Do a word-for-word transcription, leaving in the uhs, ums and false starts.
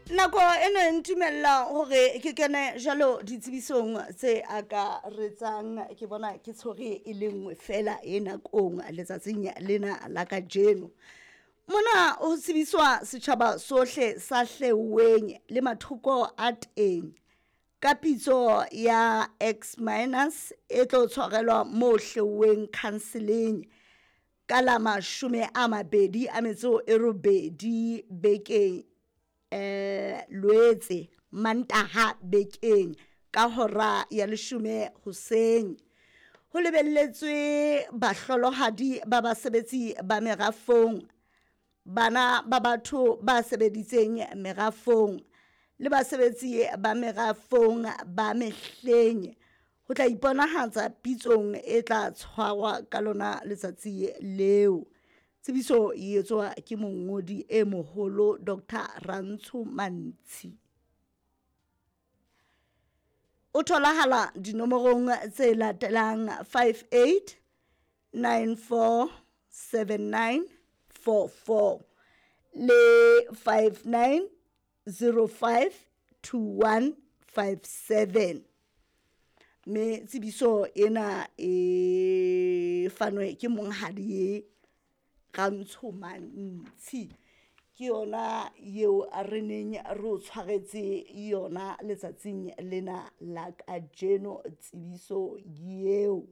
Nako ena e ntumella hore ke kene jwalo ditsebisong tse akaretsang. Ke bona ke tshwere e le nngwe fela e nakong letsatsing lena la kajeno. Mona ho tsebiswa setjhaba sohle sa Hleweng le mathoko a teng ka pitso ya X minus e tlo tshwarelwa mo Hleweng counseling ka la mashome a mabedi a metso e robedi bekeng eh Loetse, Mantaha bekeng ka hora ya leshome hoseng. Ho lebelletswe bahlolohadi ba basebetsi ba merafong, bana ba batho ba sebeditseng merafong le basebetsi ba merafong ba mehleng ho tla iponahatsa pitsong e tla tshwarwa ka lona letsatsi leo. Tsebiso e etswa ke mongodi e moholo Doctor Rantsho Mantshi. O tholahala dinomorong tse latelang five eight nine four seven nine four four le five nine zero five two one five seven. Mme tsebiso ena e fanwe ke monghadi Rantsho Mantshi. Ke yona eo re neng re o tshwaretse yona letsatsing lena la kajeno tsebiso eo.